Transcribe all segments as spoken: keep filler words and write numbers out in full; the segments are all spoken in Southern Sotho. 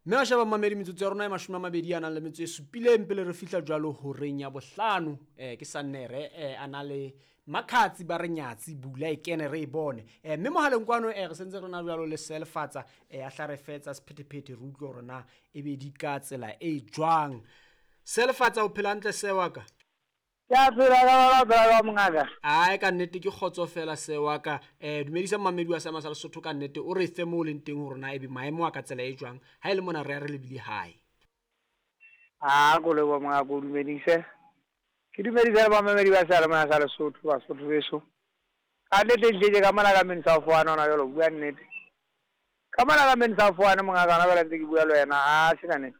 Mme wa sheba mamedi metsotso ya rona e mashome a mabedi a nang le metso e supileng pele re fihla jwalo horeng ya bohlano. um ke Sannere um a na le Makhatsi ba re nyatsi bula e kene re e bone. um Mme mohaleng kwano um re sentse re na jwalo le Selefatsa um a hla re fetsa sephethephethe re utlwe hore na ebe di ka tsela e jwang. Selefatsa o phela hantle se wa ka? Ke a phela ka ba phela ka mongaka. Ae ka nnete ke kgotso fela se wa ka. um Dumedisa mamedi wa seama sa Lesotho ka nnete o re fe mo o leng teng hore na ebe maemo a ka tsela e jwang ha e le mona re ya re lebile hae. A ko leboha mongaka o dumedise. Ke dumedise le bamamedi ba seyalemoya sa Lesotho, Basotho beso. Ka nnete ehlile ka mona ka Main South One hona jwale ho bua nnete. Ka mona ka Main South One mongaka hona jwale ntse ke bua le wena a se ka nnete.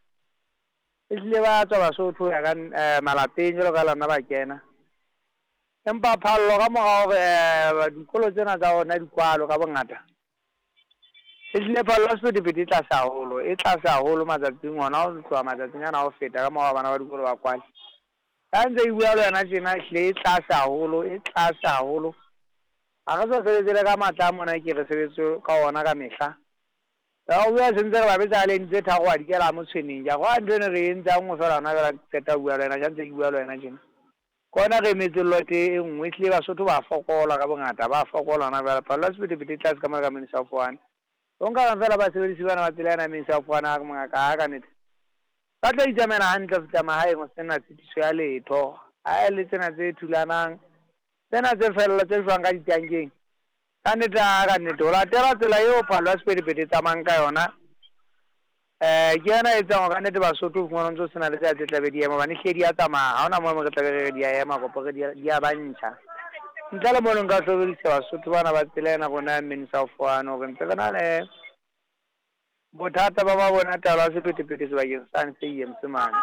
Ehlile ba tswa Basotho ho ya ka malapeng jwalo ka lona ba kena. Empa phallo ka mora hore dikolo tsena tsa rona di kwalwe ka bongata. Ehlile phallo ya sephethephethe e tlase haholo, e tlase haholo matsatsing hona ho tloha matsatsing ana a ho feta ka mora bana ba dikolo ba kwale. Ha ntse ke bua le wena tjena ehlile e tlase haholo, e tlase haholo. Ha re sa sebetse le ka matla a mona ke re sebetse ka ona ka mehla. Ya ho bua sentse re ba betsa lane tse tharo wa dikela mo tshweneng. Ke a kgolwa ntho eno re entse ha nngwe fela hona jwale ha ke qeta ho bua le wena, ja ntse ke bua le wena tjena. Ke hona re emetse lot e nngwe ehlile Basotho ba fokola ka bongata, ba fokola hona jwale. Phallo ya sephethephethe e tlase ka mona ka Main South One. O nka reng fela basebedisi bana ba tsela ena ya Main South One a re mongaka ha ka nnete. Ba tla itsamaela hantle ho fihla mahaeng ho sena tshitiso ya letho. Ha e le tsena tse thulanang, tsena tse fella tse jwang ka ditankeng. Ka nnete a ka nnete ho latela tsela eo phallo ya sephethephethe e tsamayang ka yona. Eh ke yona e etsang hore ka nnete Basotho o fumana ntso sena le tsela tse tlabe di ema hobane ehlile di a tsamaya. Ha hona moo re tlabe re re di a ema kapo re di a ba ntjha. Ntle le mono nka hlokomedisa Basotho bana ba tsela ena rona ya Main South One hore ntse re na le bothata ba mabone a taolo ya sephethephethe sebakeng sane se E M C mane.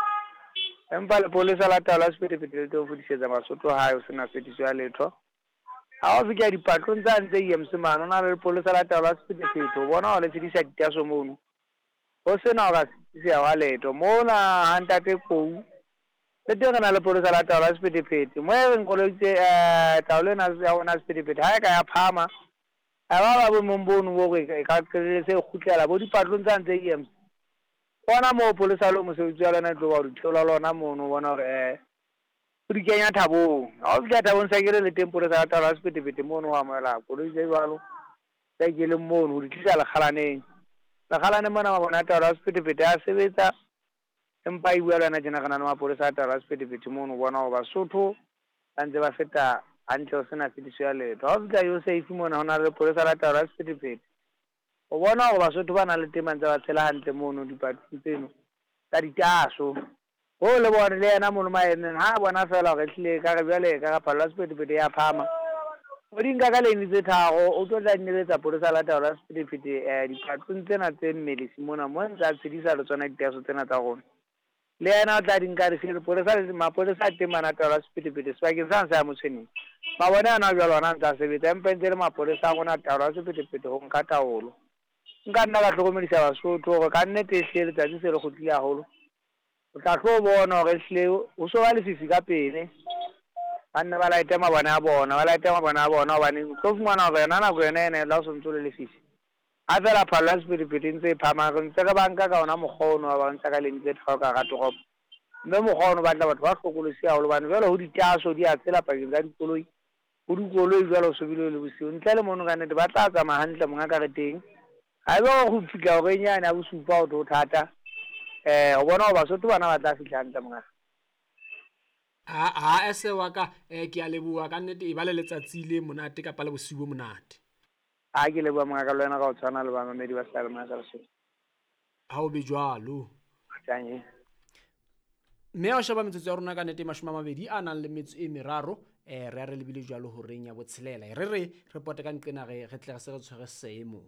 Empa lepolesa la taolo ya sephethephethe le tlo fetisetsa Basotho hae ho sena tshitiso ya letho. Ha o fihla dipatlong tsane tse E M C mane, ho na le lepolesa la taolo ya sephethephethe o bona hore le tshedisa ditaso mono. Ho sena ho ka sitiseha hwa letho. Mona ha ntate Kou le teng re na le lepolesa la taolo ya sephethephethe. Mo e reng koloi tse taolo ena ya rona ya sephethephethe ha e ka ya phahama, ha ba ba boemong bono bo hore e ka qetelletse e kgutlela bo dipatlong tsane tse E M C. Bona moo polesa le mosebetsi wa lona e tlo ba ho di theola lona mono o bona hore o di kenya thabong. Ha o fihla thabong sa kere le teng polesa la taolo ya sephethephethe mono ho amohela koloi tse jwalo tse keleng mono ho di tlisa lekgalaneng. Lekgalaneng mona mabone a taolo ya sephethephethe a sebetsa empa e bua le wena tjena re na le mapolesa a taolo ya sephethephethe mono o bona hore Basotho ba ntse ba feta hantle ho sena tshitiso ya letho. Ha o fihla yo safe mona ho na le lepolesa la taolo ya sephethephethe. O bona hore Basotho ba nang le teng ba ntse ba tshela hantle mono dipatlong tseno tsa ditaso. Ho le bone le yena mono maemeng ha a bona fela hore ehlile ekare jwale ekare phallo ya sephethephethe ya phahama. O di nka ka lane tse tharo o tlo tla neletsa polesa la taolo ya sephethephethe dipatlong tsena tse Mmelesi mona mo ntse a tshedisa le tsona ditaso tsena tsa rona. Le yena o tla di nka re lepolesa mapolesa a teng mana taolo ya sephethephethe sebakeng sane sa ya Motshweneng. Mabone ana jwale ona ntse a sebetsa empa ntse le mapolesa a rona taolo ya sephethephethe ho nka taolo. Nka nna ka hlokomedisa Basotho hore ka nnete ehlile letsatsi se le kgutlile haholo. O tla tlo bona hore ehlile ho so ba lefifi ka pele. Ba nne ba laete mabone a bona, ba laete mabone a bona hobane o tlo fumana hore yona nako yona ena e la ho sontso le lefifi. Ha fela phallo ya sephethephethe e ntse e phahama re ntse re ba nka ka ona mokgwa ono wa ba ntsha ka lane tse tharo ka hara toropo. Mme mokgwa ono o batla batho ba hlokolosi haholo hobane jwale ho ditaso di a tsela pakeng tsa dikoloi. Ho dikoloi jwale ho so bile le bosiu. Ntle le mono ka nnete ba tla tsamaya hantle mongaka re teng. Ha ebe ho fihla horeng yane ya bosupa ho tlo thata. Eh o bona hore Basotho bana ba tla fihla hantle mongaka. Ha ha ese wa ka eh ke a leboha ka nnete e ba le letsatsi le monate kapa le bosiu bo monate. Ha ke leboha mongaka le wena ka ho tshwana le bamamedi ba seyalemoya sa Lesotho. Ha o be jwalo. Tjanye. Mme wa sheba metsotso ya rona ka nnete mashome a mabedi a nang le metso e meraro eh re a re lebile jwalo horeng ya botshelela. Re re re pote ka nqena re re tle re se re tshwere seemo.